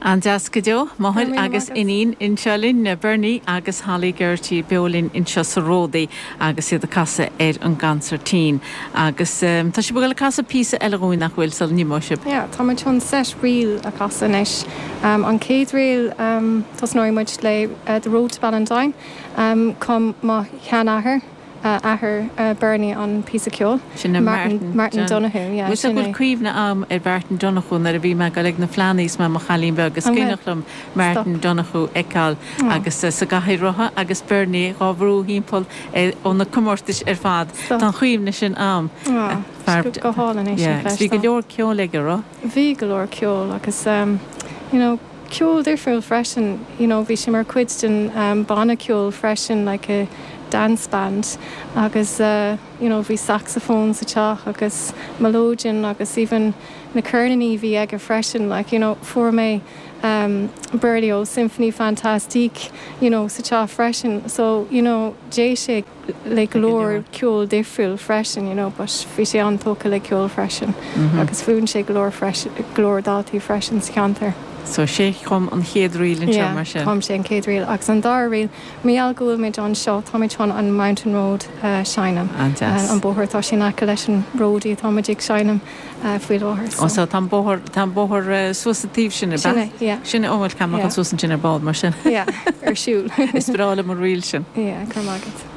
An-deas go deo. Máthair agus iníon anseo linn, Bernie agus Holly Geraghty beo linn anseo sa Ródaí agus iad ag casadh ar an gconsairtín. Agus tá sibh ag dul ag casadh píosa eile dhúinn nach bhfuil sula n-imeoidh sibh? Yeah, tá muid chun set ríl a chasadh anois. An chéad ríl, tosnóidh muid le The Road to Ballindine. Chum mo sheanathair. athair Bernie an píosa ceoil. Sin é Martin. Martin Donoghue, yeah, sin é. Bhfuil cuimhne a'm ar Mhartin Donoghue nuair a bhí mé ag dul ag na Fleannaí is mé i mo chailín beag. Is cuimhneach liom Martin Donoghue a fheiceáil agus sa gcathaoir rotha agus Bernie dhá bhrú thimpeall ó na comórtais ar fad. Tá an chuimhne sin a'm. Go hálainn é sin a chloisteáil. Bhí go leor ceoil aige, raibh? Bhí go leor ceoil agus you know ceol difriúil freisin, you know bhí sé mar chuid den banna ceoil freisin like a dance band agus you know bhí saxophone sa teach agus melodeon agus even na ceirníní bhí aige freisin like you know fuair mé Berlioz Symphonie Fantastique you know sa teach freisin so you know d'éist sé le go leor ceol difriúil freisin you know but bhí sé an-tógtha le ceol freisin agus mhúin sé go leor freisin, go leor daltaí freisin sa cheantar. So sé chum an chéad ríl anseo Yeah, mar sin? chum sé an chéad ríl agus an dara ríl, mar gheall go bhfuil muid anseo, táimid chun an Mountain Road a seinm. An-deas. An bóthar atá sé in aice leis an Ródaí atá muid ag seinm faoi láthair so. Ó so tá an bóthar, tá an bóthar suas an taobh sin, ab ea? Sin é, yeah. Sin é, ó bhuel caithfidh mé Yeah. dul suas ansin ar ball mar sin. Yeah, ar siúl. Is breá liom an ríl sin. Yeah, go raibh maith agat.